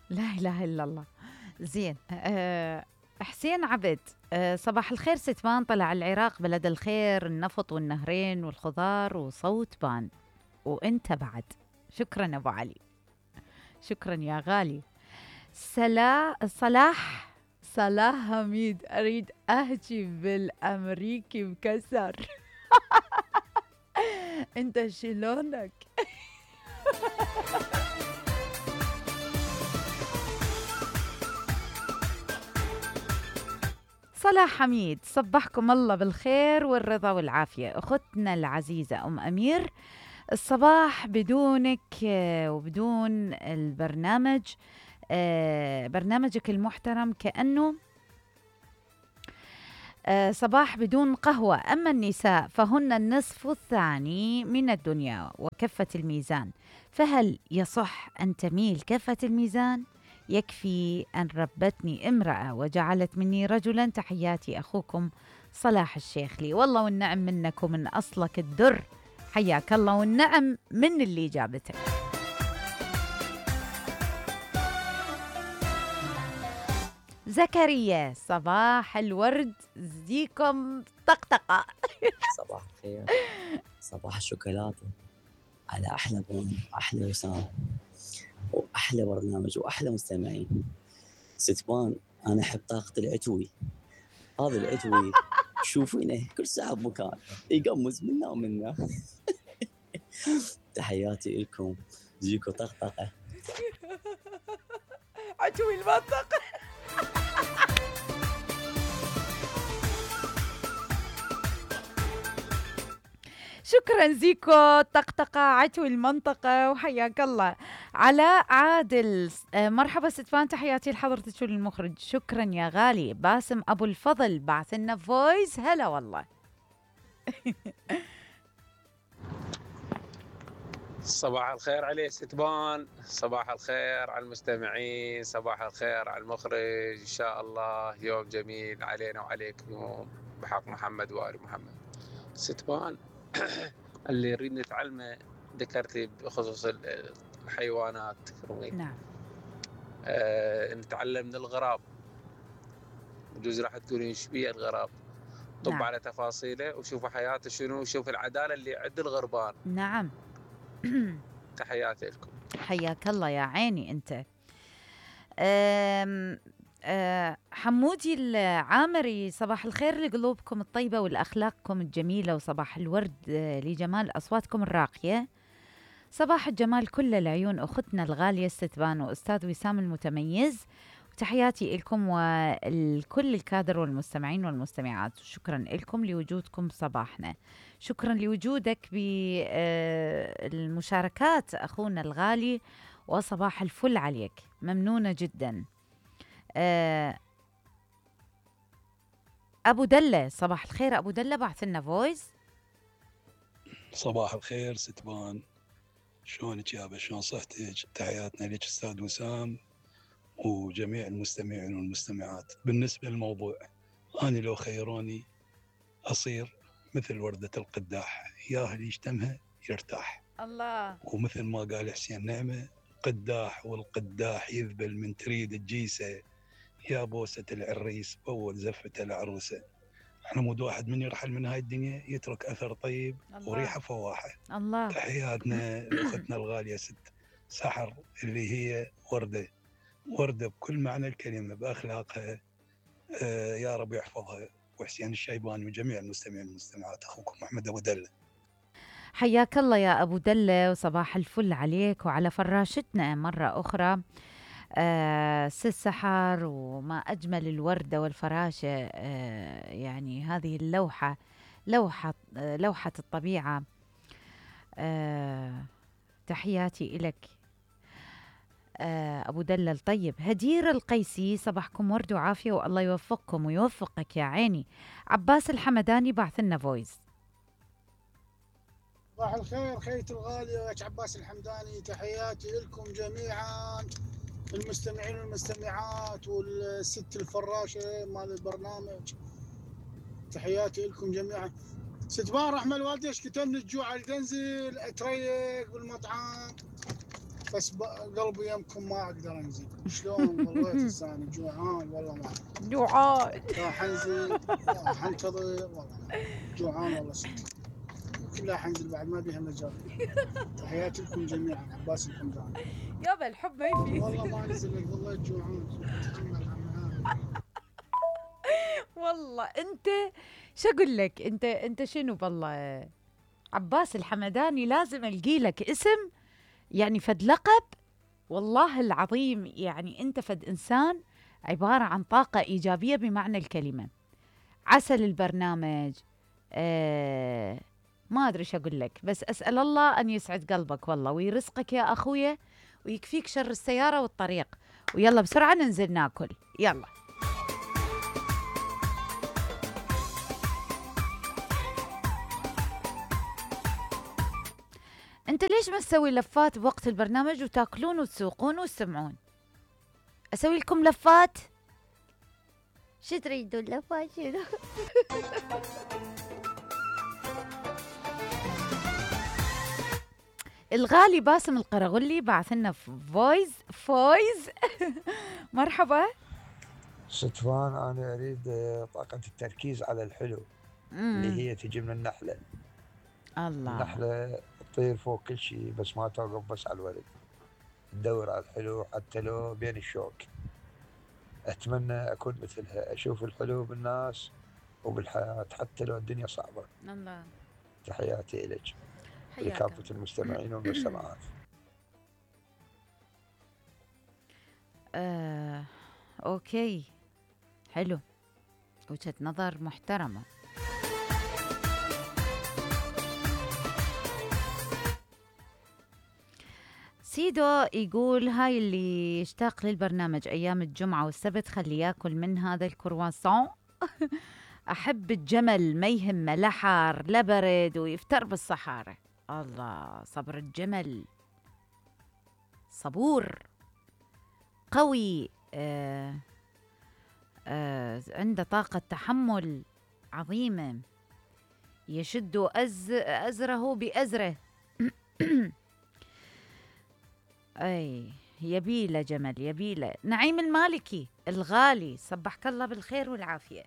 لا إله إلا الله. زين. حسين عبد. صباح الخير ستبان، طلع العراق بلد الخير، النفط والنهرين والخضار وصوت بان، وانت بعد. شكرا أبو علي، شكرا يا غالي. صلاح حميد، أريد أحكي بالأمريكي مكسر. انت شلونك؟ صلاح حميد، صبحكم الله بالخير والرضا والعافية. أختنا العزيزة أم أمير، الصباح بدونك وبدون البرنامج، برنامجك المحترم كأنه صباح بدون قهوة. أما النساء فهن النصف الثاني من الدنيا وكفة الميزان، فهل يصح أن تميل كفة الميزان؟ يكفي أن ربتني امرأة وجعلت مني رجلا. تحياتي أخوكم صلاح الشيخلي. والله والنعم منك ومن أصلك الدر، حياك الله، والنعم من اللي جابتك. زكريا، صباح الورد، زيكم طقطقة. صباح الخير، صباح الشوكولاتة على أحلى بون وأحلى وسام وأحلى برنامج وأحلى مستمعين. ستبان، أنا أحب طاقة العتوي. هذا العتوي تشوفينه كل ساعة بمكان يقمز منا ومنا. تحياتي لكم، زيكو طقطقة. عتوي المنطقة. شكرا زيكو طقطقة عتوي المنطقة، وحياك الله. علاء عادل، مرحبا ستفان، تحياتي لحضرتك وللمخرج. شكرا يا غالي. باسم أبو الفضل بعث لنا فويس، هلا والله. صباح الخير عليه ستبان، صباح الخير على المستمعين، صباح الخير على المخرج. إن شاء الله يوم جميل علينا وعليكم بحق محمد وآل محمد. ستبان، اللي نريد نتعلمه ذكرتي بخصوص الحيوانات. نعم. نتعلم من الغراب. بجوز راح تقولين ايش بيه الغراب؟ طب نعم. على تفاصيله وشوفوا حياته شنو، وشوف العدالة اللي عند الغربان. نعم. تحياتي لكم. حياك الله يا عيني أنت. حمودي العامري، صباح الخير لقلوبكم الطيبة والأخلاقكم الجميلة، وصباح الورد لجمال أصواتكم الراقية. صباح الجمال كل العيون أختنا الغالية ستبان وأستاذ وسام المتميز، وتحياتي لكم ولكل الكادر والمستمعين والمستمعات. شكرا لكم لوجودكم صباحنا. شكرا لوجودك بالمشاركات أخونا الغالي، وصباح الفل عليك، ممنونة جدا. أبو دلة، صباح الخير أبو دلة، بعث لنا فويس. صباح الخير ستبان، شلونك يابا، شلون صحتك؟ تحياتنا لك أستاذ وسام وجميع المستمعين والمستمعات. بالنسبة للموضوع، أنا لو خيروني أصير مثل وردة القداح، يا اللي يشتمها يرتاح. الله. ومثل ما قال حسين نعمة، قداح والقداح يذبل من تريد الجيسة، يا بوسة العريس بول زفة العروسة. احنا مود واحد من يرحل من هاي الدنيا يترك أثر طيب وريحة فواحة. الله. تحياتنا لأختنا الغالية ست سحر، اللي هي وردة بكل معنى الكلمة بأخلاقها. يا رب يحفظها. وحسين الشيباني وجميع المستمعين والمستمعات. أخوكم محمد أبو دلة. حياك الله يا أبو دلة، وصباح الفل عليك وعلى فراشتنا مرة أخرى. سحر، وما أجمل الوردة والفراشة. يعني هذه اللوحة، لوحة الطبيعة. تحياتي إلك أبو دلة الطيب. هدير القيسي، صباحكم ورد وعافية والله يوفقكم ويوفقك يا عيني. عباس الحمداني بعث لنا فويس. صباح الخير خيتي الغالية يا عباس الحمداني، تحياتي لكم جميعا، المستمعين والمستمعات والست الفراشة مال البرنامج. تحياتي لكم جميعا. ستبان رحمة الوالدة، ايش كتبنا الجوع على الجنزل اتريق بالمطعم. بس قلبي يمكم ما اقدر انزل. شلون ظليت هسه انا جوعان والله ما أدري. جوعان. راح انزل راح انتظر والله جوعان والله ست كلها حنزل بعد ما بيها مجال. تحياتي لكم جميعا. عباس الحمداني. يابا الحب ما يفيد. والله ما نزلت ظليت جوعان. تحمل عمي. والله انت شو اقول لك، انت شنو بالله عباس الحمداني، لازم القي لك اسم يعني فد لقب. والله العظيم يعني انت فد انسان عباره عن طاقه ايجابيه بمعنى الكلمه. عسل البرنامج. ما ادري شو اقول لك، بس اسال الله ان يسعد قلبك والله ويرزقك يا اخويا ويكفيك شر السياره والطريق. ويلا بسرعه ننزل ناكل يلا. انت ليش ما تسوي لفات بوقت البرنامج وتاكلون وتسوقون وتسمعون؟ اسوي لكم لفات؟ شو تريدون لفات شنو؟ الغالي باسم القرغلي بعث لنا فويز مرحبا. ستفان انا اريد طاقة التركيز على الحلو اللي هي تجي من النحلة. الله. النحلة تطير فوق كل شيء بس ما توقف بس على الورد، تدور على الحلو حتى لو بين الشوك. اتمنى اكون مثلها، اشوف الحلو بالناس وبالحياة حتى لو الدنيا صعبة. الله. تحياتي لك حياك. لكافة المستمعين والمستمعات. اوكي حلو، وجهة نظر محترمة. سيدو يقول هاي اللي يشتاق للبرنامج أيام الجمعة والسبت خلي ياكل من هذا الكرواسون. أحب الجمل ما يهمه لا حار لا برد ويفتر بالصحارى. الله، صبر الجمل، صبور قوي، عنده طاقة تحمل عظيمة، يشد أزره بأزره. أي يبيله جمل يبيله. نعيم المالكي الغالي صبحك الله بالخير والعافية.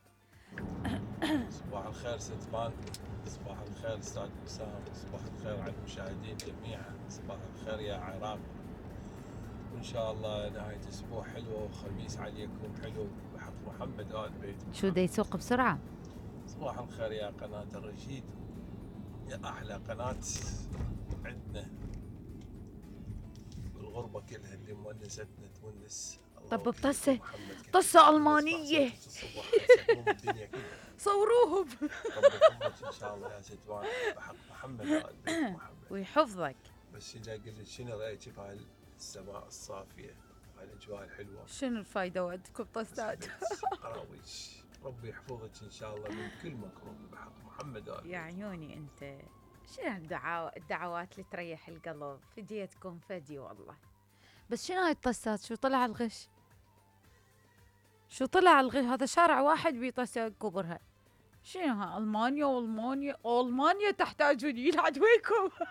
صباح الخير ستفان، صباح الخير استاذ وسام، صباح الخير على المشاهدين جميعا، صباح الخير يا عراق، وان شاء الله نهاية اسبوع حلوة وخميس عليكم حلو بحق محمد آل بيت. شو دا يسوق بسرعة؟ صباح الخير يا قناة الرشيد، يا احلى قناة عندنا بالغربة كلها اللي مونستنا تونس. طب بطسة طسة ألمانية صوروهم. ان شاء الله يا ستوان بحق محمد آل بيت محمد ويحفظك. بس إذا قلت شنو رأيك بهالسماء الصافية وهالأجواء الحلوة؟ شنو الفايدة ودكم طسات؟ أراويش ربي يحفظك إن شاء الله من كل مكروه بحق محمد آل. يا عيوني أنت، شنو الدعوات اللي تريح القلب؟ فديتكم فدي والله. بس شنو هاي الطسات؟ شو طلع الغش؟ شو طلع الغش؟ هذا شارع واحد بطسات كبرها. شنو ها؟ ألمانيا تحتاجون يلعب وياكم.